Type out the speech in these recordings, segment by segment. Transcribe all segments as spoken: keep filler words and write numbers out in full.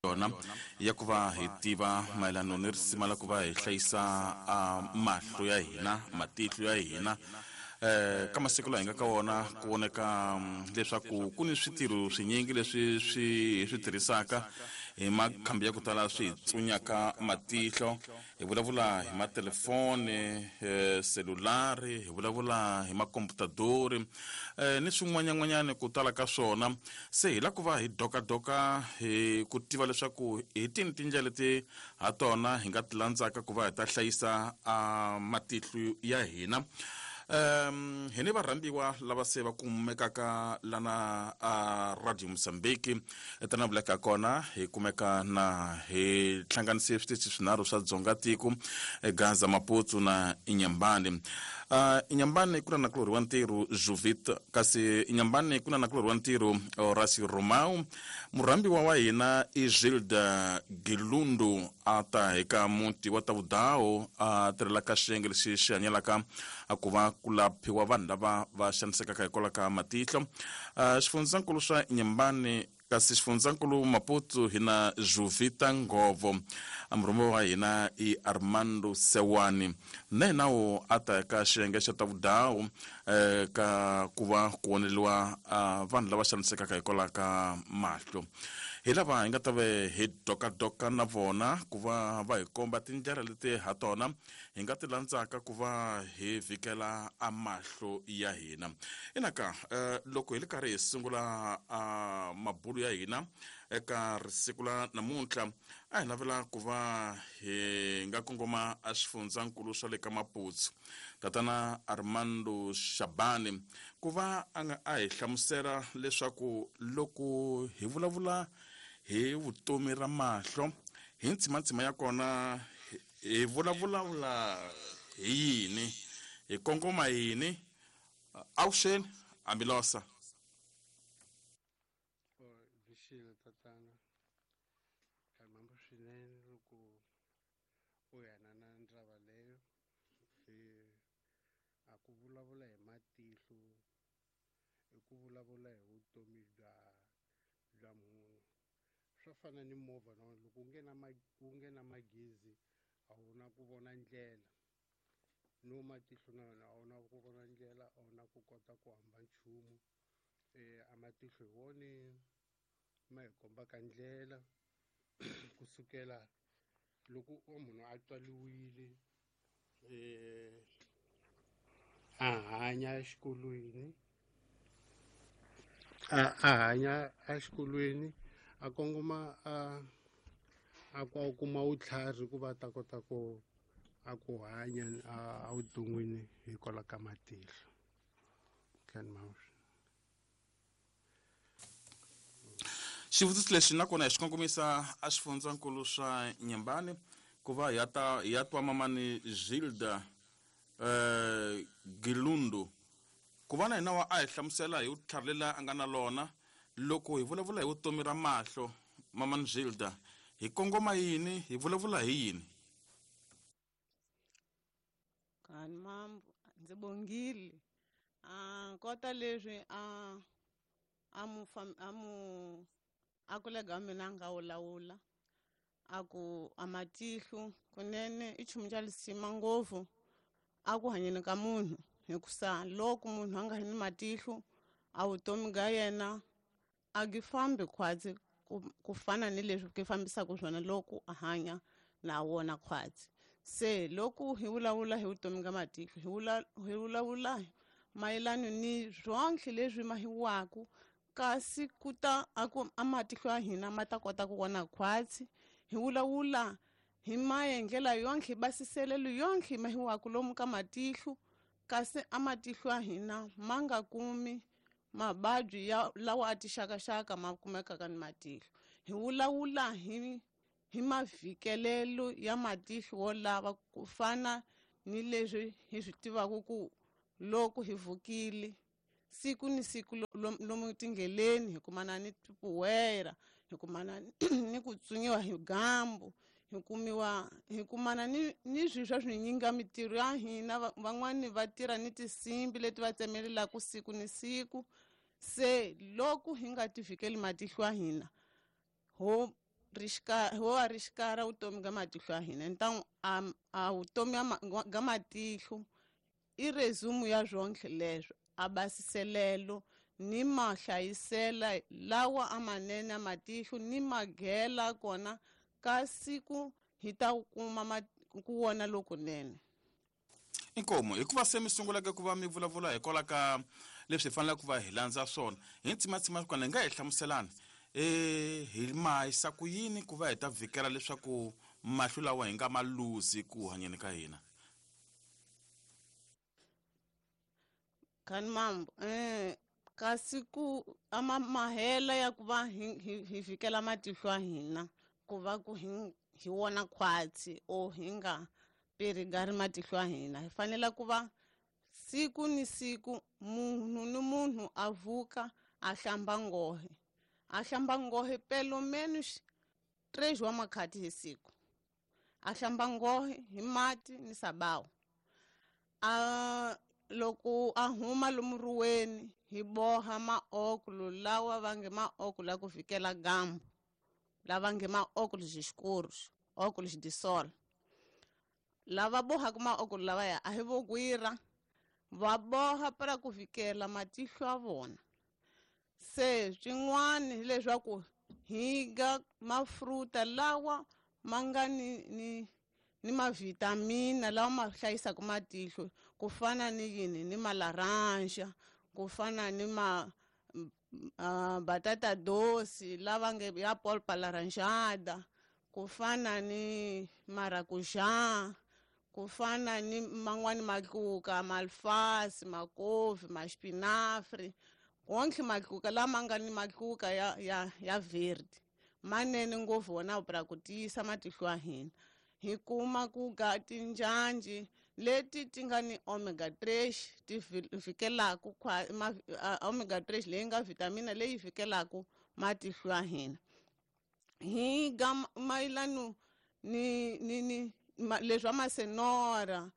Yona ya ku va hi tiva mayelano ni risima la ku va hi hlayisa mahlo ya hina, matihlo ya hina. Eh ka masiku lawa hi nga ka wona ku voneka leswaku ku ni switirho swinyingi leswi swi hi swi tirhisaka hi makhambi ya ku tala swi hi tsunyaka matihlo. Hi vulavula hi matelefoni, eh, selulari, hi vulavula hi makomputadori, eh, ni swin'wanyan'wanyani ku tala ka swona. Se hi la ku va hi dokadoka hi ku tiva leswaku hi tini tindlela leti ha tona hi nga ti landzaka ku va hi ta hlayisa a matihlo ya hina. Um hi ni varhambiwa lava se va kumekaka lana a Radio Mozambique etana vuleka kona hi kumeka na hi hlanganise switichi swinharhu swa Dzonga tiko, Gaza, Maputo na Inhambane. Uh, Inhambane ku na nakulorhi wa ntirho Juvit, kasi Inhambane ku na nakulorhi wa ntirho Horacio Romao. Murhambiwa wa hina i Gilda Gilundu, a ta eka muti wa Tavudao, a tirhelaka xiyenge lexi xi hanyelaka a ku va ku laphiwa vanhu lava va xanisekaka hikwalaho ka matihlo. Uh, xifundzankulu swa Inhambane, kasi xifundzankulu Maputo hi na Juvita Ngovo. Murhumiwa wa hina i Armando Sewani, na yena wo a ta eka xiyenge xa Tavudao, eh, ka ku va ku voneliwa uh, vanhu lava xanisekaka hikwalaho ka mahlo. Hi lava hi nga ta ve hi dokadoka na vona ku va va hi komba tindlela leti ha tona hi nga ti landzaka ku va hi vhikela a mahlo ya hina. Inaka eh, loko hi le karhi hi sungula a mabulu ya hina eka risiku la namuntlha, a hi navela ku va hi nga kongoma a xifundzankulu swa le ka Maputo, tatana Armando Shabani, ku va a nga a hi hlamusela leswaku loko hi vulavula hi vutomi ra mahlo hi ntsimantsima ya kona hi vulavula hi yini, hi kongoma yini. Avuxeni Ambilosa. Vixile tatana, kambe swinene loko u yana na ndzaba leyo, a ku vulavula hi matihlo i ku vulavula hi vutomi bya bya munhu. Swa fana ni movha na wona, loko wu nge na wu nge na magezi a wu na ku vona ndlela, no matihlo na yona a wu na ku vona ndlela, a wu na ku kota ku hamba nchumu. Eh a matihlo hi wona ma hi kombaka ndlela kusukela loko munhu a tswariwile, eh a hanya exikolweni, a a hanya exikolweni a kongoma a a ku kuma vutlhari ku va ta kota ku a ku hanya a vuton'wini hikwalaho ka matihlo. Xivutiso lexi nakona hi xi kongomisa a xifundzankulu swa Inhambane ku va hi ya ta hi ya twa mamani Gilda eh, Gilundu, ku va na hina wa a hi hlamusela hi vutlhari lela a nga na lona loko hi vulavula hi vutomi ra mahlo. Mamani Gilda, hi kongoma yini, hi vulavula hi yini? Kani mambo ndzi bongile a kota leswi a a mu a mu a kolega wa mina a nga wulawula a ku a matihlo kunene i nchumu xa lisima ngopfu a ku hanyeni ka munhu, hikusa loko munhu a nga ri ni matihlo a vutomi ga yena a gi fambi khwatsi ku fana ni leswi ki fambisaka swona loko a hanya na wona khwatsi. Se loko hi vulavula hi vutomi ga matihlo hi vula hi vulavula mayelana ni swonke leswi mahiwaku, kasi ku ta a ku a matihlo ya hina ma ta kota ku vona khwatsi. Hi vulavula hi maendlela yonke, basiselelo yonke mahiwaku lomu ka matihlo, kasi a matihlo ya hina ma nga kumi mavabyi ya lawa a tixakaxaka ma kumekaka ni matihlo. Hi vulavula hi hi mavhikelelo ya matihlo wo lava ku fana ni leswi hi swi tivaka ku loko hi vukile siku ni siku lomu tindleleni hi kumana ni tipuwera, hi kumana ni ku tsunyiwa hi gambu, hi kumiwa hi kumana ni ni swilo swa swinyinga mitirho ya hina. Van'wani va tirha ni tinsimbi leti va tsemelelaka siku ni siku. Se loko hi nga ti vhikeli matihlo ya hina ho rixika hi wa rixikara vutomi ga matihlo ya hina. Ntangu a a vutomi ga matihlo i resume ya zwonke leswo a basiselelo ni mahlayisela lawa amanene ya matihlo ni magela kona ka siku hi ta kuma ku wona lokunene. Inkomo hikuva se mi sungulaka ku va mi vulavula hikwalaho ka leswi hi faneleke ku va hi landza swona hi ntsimatsima kona hi nga hi hlamuselani eh hi mahisa ku yini ku va hi ta vhikela leswaku mahlo lawa hi nga ma luzi ku hanyeni ka hina. Kan mambo eh kasi ku ama mahela ya ku va hi hi vhikela matihlo ya hina ku va ku hi hi wona khwatsi o hi nga perigari matihlo ya hina hi fanele ku va siku ni siku munhu ni munhu a vuka a hlamba ngohe a hlamba ngohe pelo menos três wa makhati hi siku a hlamba ngohe hi mati ni sabawu a loko a huma lomuruweni hi boha maokulu lawa va nge maokulu ya ku fikela gambu lava nge maokulu xixikuru okulu xidisol lava bohaka maokulu lavaya a hi vo gwira va boha para ku fikela matihlo ya vona. Se swin'wana hileswaku hi ga mafruta lawa ma nga ni ni ni mavitamina lawa ma hlayisaka matihlo ku fana ni yini ni malaranja ku fana ni ma uh, batata doce lava nge ya polpa laranjada ku fana ni maracujá ku fana ni man'wani matluka malfasi makovi maxpinafri wonke matluka lama nga ni matluka ya ya ya verde manene ngopfu wona pra ku tiyisa matihlo ya hina. Hi kuma ku ga tinjanji leti ti nga ni omega three ti fikelaku omega three leyi nga vitamina leyi fikelaku matihlo ya hina. Hi ga mayelano ni ni ni leswa masenora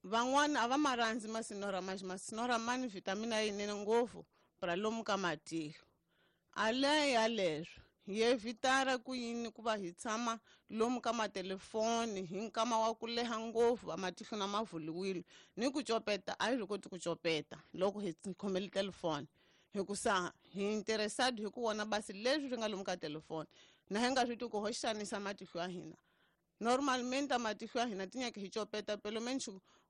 van'wana a va ma rhandzi masenora mas masenora ma ni vitamina yinene ngopfu pra lomu ka matihlo. Ale ya leswo hi evitara ku yini ku va hi tshama lomu ka matelefoni hi nkama wa ku leha ngopfu va matihlo na mavuliwile ni ku copeta a hi swi koti ku copeta loko hi khomele telefoni hikusa hi interested hi ku vona basi leswi swi nga lomu ka telefoni na hi nga swi tivi ku ho xanisa matihlo ya hina. Normalmente matihlo ya hina ti nyaka hi copeta pelo menos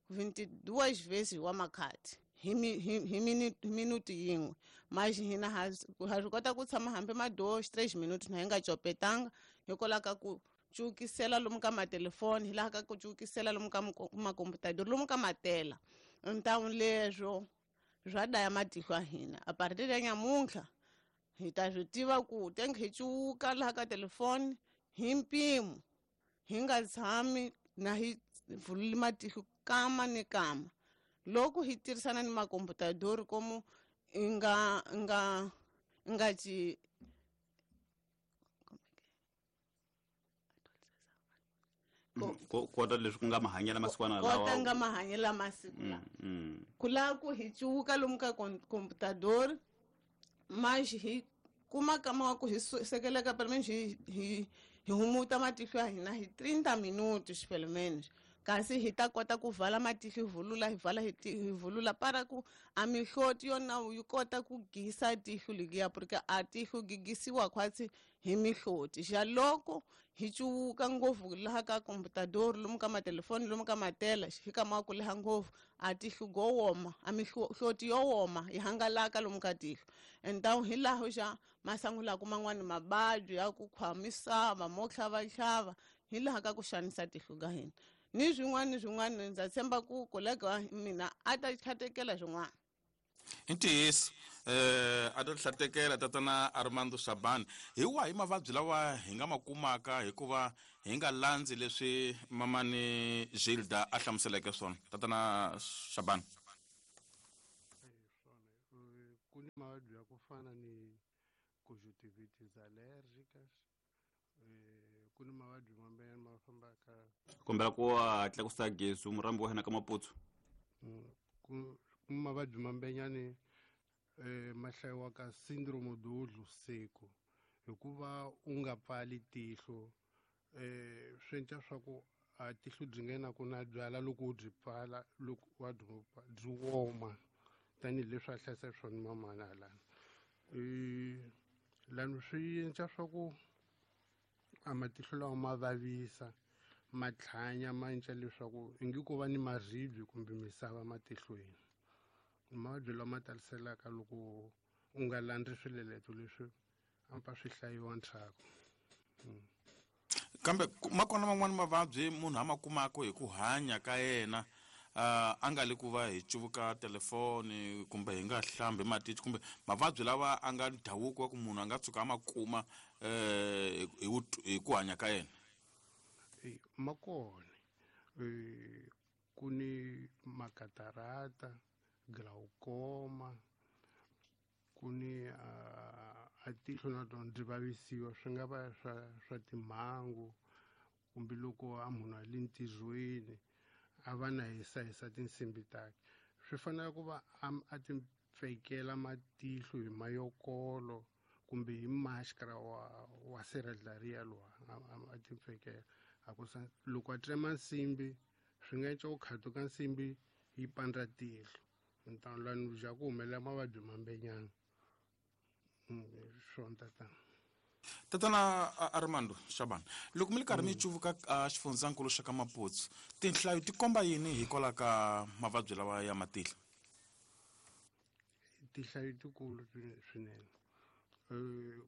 vinte e duas vezes wa makhati hi hi minuti yin'we mas hina ha swi kota ku tshama hambi ma dois três minutos na hi nga copetanga hikwalaho ka ku cukisela lomu ka matelefoni hi laha ka ku cukisela lomu ka makomputador lomu ka matela. Então leswo swa daya matihlo ya hina. A partir ya nyamuntlha hi ta swi tiva ku tenge hi cuka laha ka telefoni hi mpimo hi nga tshami na hi vululi matihlo kama ni kama loko hi tirhisana ni makomputador komu nga nga nga ci kota leswi ku nga mahanyelo masikwana lawa kota nga mahanyelo masiku lawa ku lava ku hi cuka lomu ka computador mas hi kuma kama wa ku hi sekeleka pelo menos hi hi hi humuta matihlo ya hina hi trinta minutos pelo menos kasi hi ta kota ku vala matihlo hi vulula hi vala hi vulula para ku a mihloti yona yi kota ku gisa tihlo liya porque a tihlo gigisiwa khwatsi hi mihloti xa loko hi cuka ngopfu laha ka computador lomu ka matelefoni lomu ka matela hi kama ku leha ngopfu a tihlo go woma a mihloti yo woma yi hangalaka lomu ka tihlo. Então hi laho xa masangulaka man'wani mabadyi ya ku khwamisava mo tlhavatlhava hi laha ka ku xanisa tihlo ka hina ni swin'wana ni swin'wana. Ndza tshemba ku kolega wa mina a ta tlhatekela swin'wana. I ntiyiso eh a ta tlhatekela tatana Armando Shabani hi wahi mavabyi lawa hi nga ma kumaka hikuva hi nga landzi leswi mamani Gilda a hlamuseleke swona tatana Shabani? Ku ni mavabyi ya ku fana ni conjuntivitis alérgicas ku ni mavabyi mambirhi ma fambaka kombela ku hatla ku sa gezi murambi wa hina ka Maputsu ku mavabyi mambenyani eh ma hlayiwaka syndrome do olho seco. Hikuva u nga pfali tihlo eh swi endla swa ku a tihlo byi nghena ku na byala loko u byi pfala loko wa byi byi woma tanihileswi a hlayisa swona mamana halani. Lani swi endla swa ku a matihlo lawa ma vavisa ma tlhanya ma endla leswaku ingi ku va ni maribye kumbe misava matihlweni. Mavabyi lama taliselaka loko u nga landzi swileleto leswi ampa swi hlayiwa ndzhaku. Kambe ma kona man'wani mavabyi munhu a ma kumaka hi ku hanya ka yena uh, a nga le ku va hi cuvuka telefoni kumbe hi nga hlambi matihlo kumbe mavabyi lawa a nga ndhavuko wa ku munhu a nga tshuka a ma kuma eh hi ku hanya ka yena. Ma kona ku ni makatarata, glaucoma, ku ni a tihlo na tona byi vavisiwa swi nga va swa swa timhangu kumbe loko a munhu a le ntirhweni a va na hisahisa tinsimbi takhe. Swi fanele ku va a ti pfekela matihlo hi mayokolo kumbe hi maskara wa wa sirheleriya lowa a ti pfekela. A ku sa loko a tsema nsimbi swi nga endla ku khatuka nsimbi yi pandza tihlo ntano lani ja ku humelela mavabyi mambenyana. Swona tatana. Tatana Armando Shabani, loko mi le karhi mi cuvuka xifundzankulu xa ka Maputsu, tinhlayo ti komba yini hikwalaho ka mavabyi lawa ya matihlo? Tinhlayo tikulu swinene.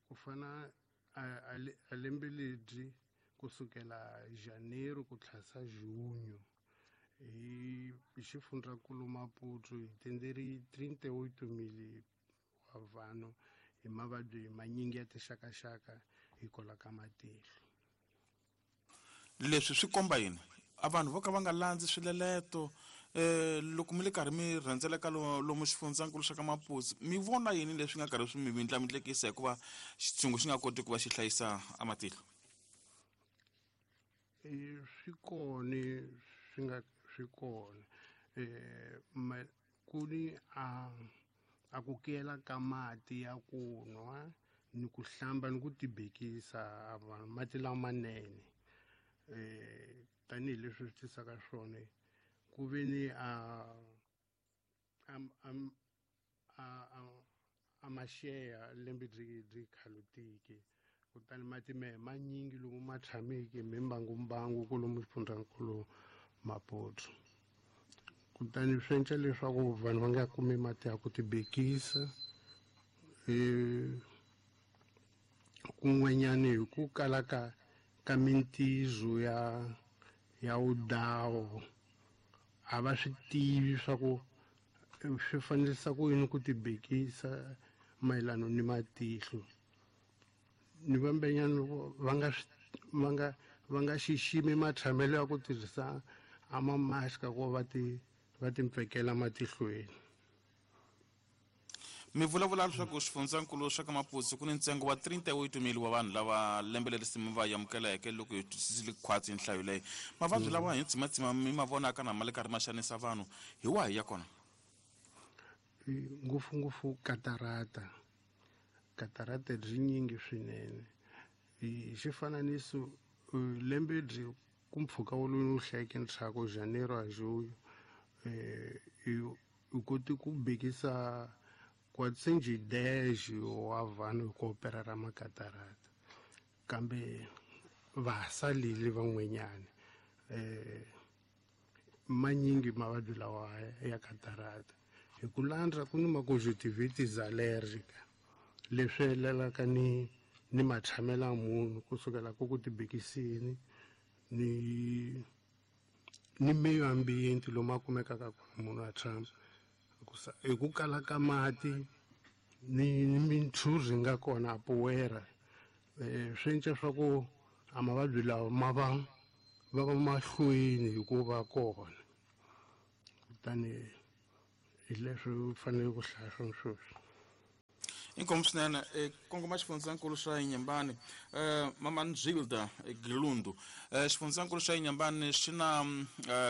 Ku fana a lembe lebyi kusukela Janeiro ku tlhasa Junho hi xifundzankulu Maputo hi tenderi trinta e oito mil wa vanhu hi mavabyi manyingi ya tinxakaxaka hikwalaho ka matihlo. Leswi swi komba yini? A vanhu vo ka va nga landzi swileleto eh loko mi le karhi mi rhendzeleka lomu xifundzankulu xa ka Maputsu mi vona yini leswi nga karhi swi mi vindlamindlekisa hikuva xitshungu xi nga koti ku va xi hlayisa a matihlo? Swi kona swi nga swi kona eh ku ni a a ku kela ka mati ya ku nwa ni ku hlamba ni ku tibekisa vanhu mati lamanene eh tanihileswi swi tisaka swona ku ve ni a a a a maxeya lembe byi byi khalutiki kutani mati mehe manyingi lomu ma tshameke mimbangu kolomu xifundzankulu Maputo. Kutani swi endla leswaku vanhu va nga kumi mati ya ku tibekisa eh kun'wanyani hi ku kala ka ka mintizo ya ya udawo a va swi tivi swa ku swi fanelisa ku yini ku tibekisa mayelana ni matihlo ni vambenyana va nga va nga va nga xiximi matshamelo ya ku tirhisa a mamaska ku va ti va timpfekela matihlweni. Mi vulavula leswaku xifundzankulu xa ka Maputsu ku ni ntsengo wa trinta e oito mil wa vanhu lava lembe leri mi va amukeleke loko hi twisisile khwatsi nhlayo leyi. Mavabyi lawa hi tsimatsima mi ma vonaka na ma le karhi ma xanisa vanhu hi wahi ya kona? Ngopfungopfu katarata. Katarata byi nyingi swinene. Hi xifananiso lembe byi ku mpfhuka wolowo wu hlayeke ndzhaku Janeiro a Junho eh u koti ku bekisa quatrocentos e dez wa vanhu hi ku operera makatarata kambe va ha salile van'wanyana eh manyingi mavabyi lawa ya katarata hi ku landza ku ni ma-conjunctivitis allergica leswi helelaka ni ni matshamelo ya munhu kusukela ku ku tibekisini ni ni meyo ambiente lomu a kumekaka kona munhu a tshama hi ku kala ka mati ni ni mintshuri nga kona a poera eh swi endla swa ku a mavabyi lawa ma va va va mahlweni hikuva kona kutani hi leswi u fanele ku hlaya swona sweswi. Inkomu swinene kongoma xifundzankulu xa Inhambane mama Nzilda Gilundu xifundzankulu xa Inhambane xi na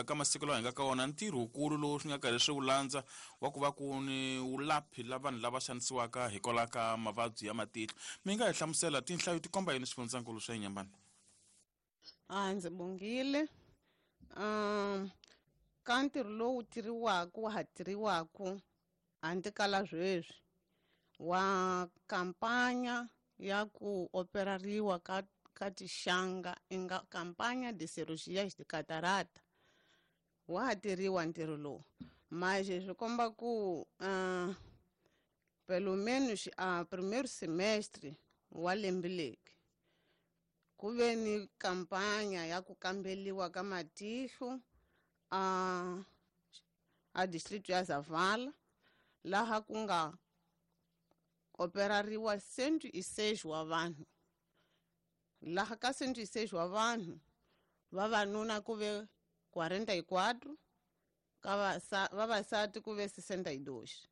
ka masiku lawa hi nga ka wona ntirho wukulu lowu swi nga karhi swi wu landza wa ku va ku ni wulaphi la vanhu lava xanisiwaka hikwalaho ka mavabyi ya matihlo. Mi nga hi hlamusela tinhlayo ti komba yini xifundzankulu xa Inhambane? A ndzi bongile um ka ntirho lowu tirhiwaka wa ha tirhiwaka handle ka la sweswi wa kampanya ya ku operariwa ka ka tixanga inga kampanya de cirurgias de catarata wa ha tirhiwa ntirho lowu mas swi komba ku uh, pelo menos a primeiro semestre wa lembe leri ku ve ni kampanya ya ku kambeliwa ka matihlo a a distrito ya Zavala laha ku nga operariwa cento e seis wa vanhu. Laha ka cento e seis wa vanhu vavanuna ku ve quarenta e quatro ka vavasati ku ve sessenta e dois.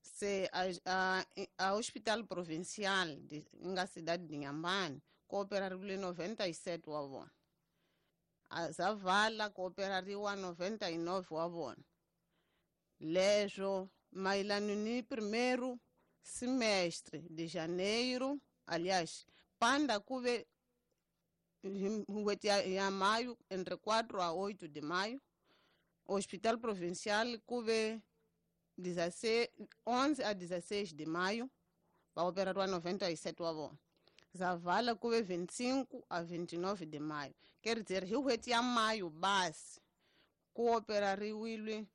Se a, a, a Hospital Provincial de nga cidade de Inhambane ku operariwile noventa e sete wa vona. A Zavala ku operariwa noventa e nove wa vona. Leswo mayelana ni primeiro semestre de janeiro, aliás, panda ku ve n'hweti ya, ya maio, entre quatro a oito de maio, Hospital Provincial ku ve onze a dezesseis de maio, va operariwa noventa e sete wa vona. Zavala ku ve vinte e cinco a vinte e nove de maio. Quer dizer, hi n'hweti ya maio basi ku operariwile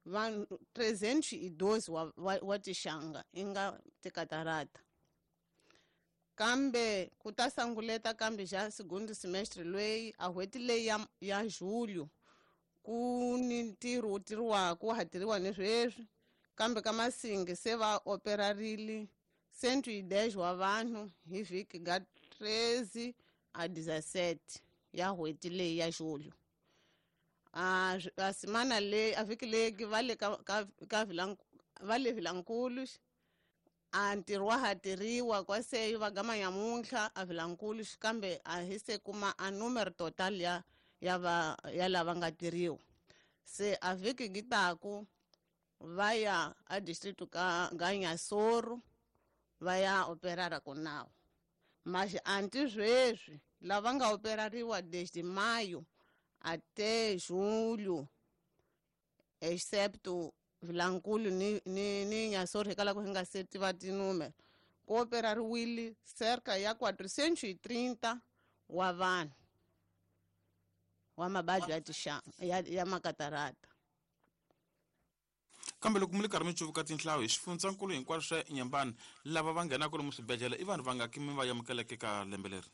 vanhu trezentos e doze wa, wa, wa tixanga inga tikatarata. Kambe ku ta sanguleta kambe xa segundo semestre leyi a n'hweti leyi ya, ya julho ku ni ntirho wu tirhiwaka wa ha tirhiwa ni sweswi kambe ka Masingi se va operarile cento e dez wa vanhu hi vhiki ga treze a dezessete ya n'hweti leyi ya julho. A a semana leyi a vhiki leyi va le ka ka ka va le Vilankulu a ntirho wa ha tirhiwa kwaseyo va gama nyamuntlha a Vilankulu kambe a hi se kuma a número total ya ya va ya lava nga tirhiwa. Se a vhiki gi taku va ya a distrito ka ga Inhassoro va ya operara konawo. Mas anti sweswi lava nga operariwa desde maio até julho, excepto Vilankulu ni ni ni Inhassoro hikwalaho hi nga se tiva tinúmero, ku operariwile cerca ya quatrocentos e trinta wa vanhu wa mabadi ya tixanga ya, ya makatarata. Kambe loko mi le karhi mi cuvuka tinhlayo hi xifundzankulu hinkwaswo swa Inhambane lava va nghenaka lomu swibedhlele i vanhu va nga ki mi va amukeleke ka lembe leri?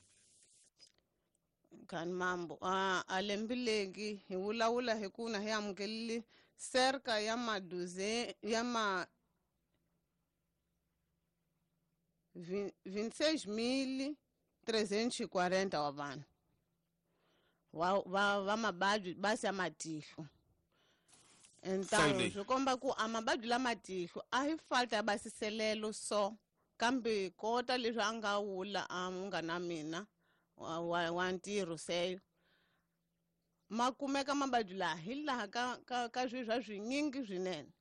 Khani mambo a a lembe leri hi vulavula hi ku na hi amukelile cerca ya maduze ya ma vinte e seis mil trezentos e quarenta wa vanhu wa va va mabadi basi ya matihlo. Então swi komba ku a mabadi la matihlo a hi falta ya basiselelo so kambe kota leswi a nga wula a munghana mina wa, wa, wa ntirho seyo ma kumeka mabadi laha hi laha ka ka ka swilo swa swinyingi swinene.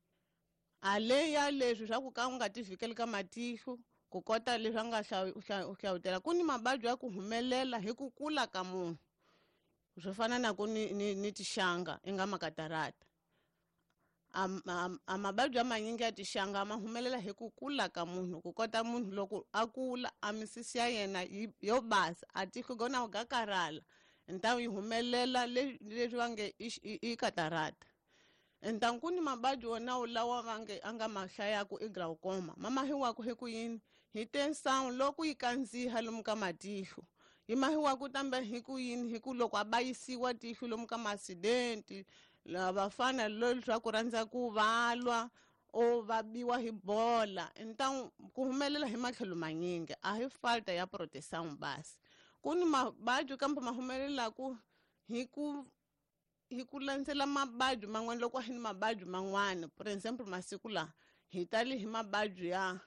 A le ya leswi swa ku ka u nga ti fikeli ka matihlo ku kota leswi a nga hlawutela ku ni mabadi ya ku humelela hi ku kula ka munhu swo fana na ku ni, ni, ni tixanga inga makatarata. A, a, a mabadi ya manyingi ya tixanga ma humelela hi ku kula ka munhu ku kota munhu loko a kula a misisi ya yena yo basa a tihlo gona ga karhala então yi humelela leswi va nge i katarata. Então ku ni mabadi wona lawa va nge a nga ma hlayaku i glaucoma ma mahiwaku hi ku yini hi tensão loko yi kandziha lomu ka matihlo yi mahiwaku tambe hi ku yini hi ku loko a bayisiwa tihlo lomu ka ma-accident vafana leswaku rhandza ku valwa o va biwa hi bola. Então ku humelela hi matlhelo manyingi a hi falta ya proteção basi. Ku ni mabadi kambe ma humelelaku hi ku hi ku landzela mabadi man'wana loko a hi ni mabadi man'wana. Por exemplo masiku laha hi tali hi mabadi ya